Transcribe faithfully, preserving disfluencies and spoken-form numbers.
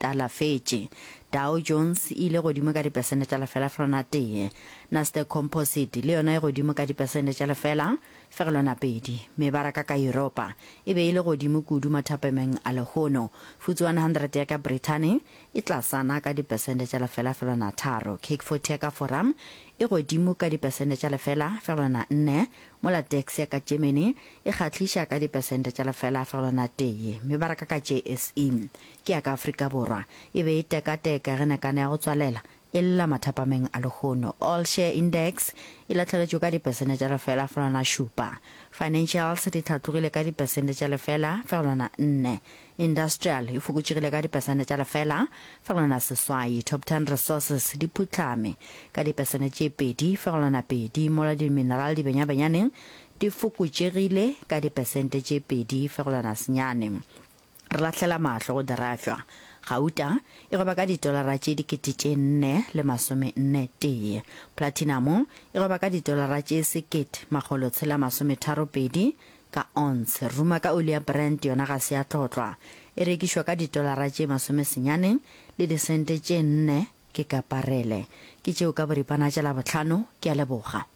talafetše. Dow Jones e ile godimo ka dipesente tša lefela fegelwana tee. Nasdaq Composite le yona e godimo ka dipesente tša lefela fegelwana pedi. Mebaraka ka Yuropa e be e le godimo kudu mathapameng a lehono. F T S E one hundred ya ka Brithani e tlasana ka dipesente tša lefela fegelwana tharo. CAC forty ya ka Fora e godimo ka dipesente tša lefela fegelwana nne, mola DAX ya ka Germany e kgahliša ka dipesente tša lefela fegelwana tee. Mebaraka ka J S E ke ya ka Afrika Borwa e be e tekateka ge nakana ya go tswalela e lla mathapameng a lehono. All Share Index e lahlegetšwe ka dipesente tša lefela fegelwana šupa. Financials di hlatlogile ka dipesente tša lefela fegelwana nne. Industrial e fokotšegile ka dipesente tša lefela fegelwana seswai. Top ten Resources di phuhlame ka dipesente tše pedi fegelwana pedi, mola di-mineral di benyabenyaneng di fokotšegile ka dipesente tše pedi fegelwana senyane. Re lahlela mahlo go dirafša. Gauta e gweba ka ditolara tše dikete tše nne le masome nne tee. Platinum e gweba ka ditolara tše sekete makgolo tshela masome tharo pedi ka ounce. Ruma ka oli ya Brent yona ga se ya tlotlwa. E rekišwa ka ditolara tše masome senyane le disente tše nne ke ka parele. Ke tšeo ka boripana tša Labohlano, ke a leboga.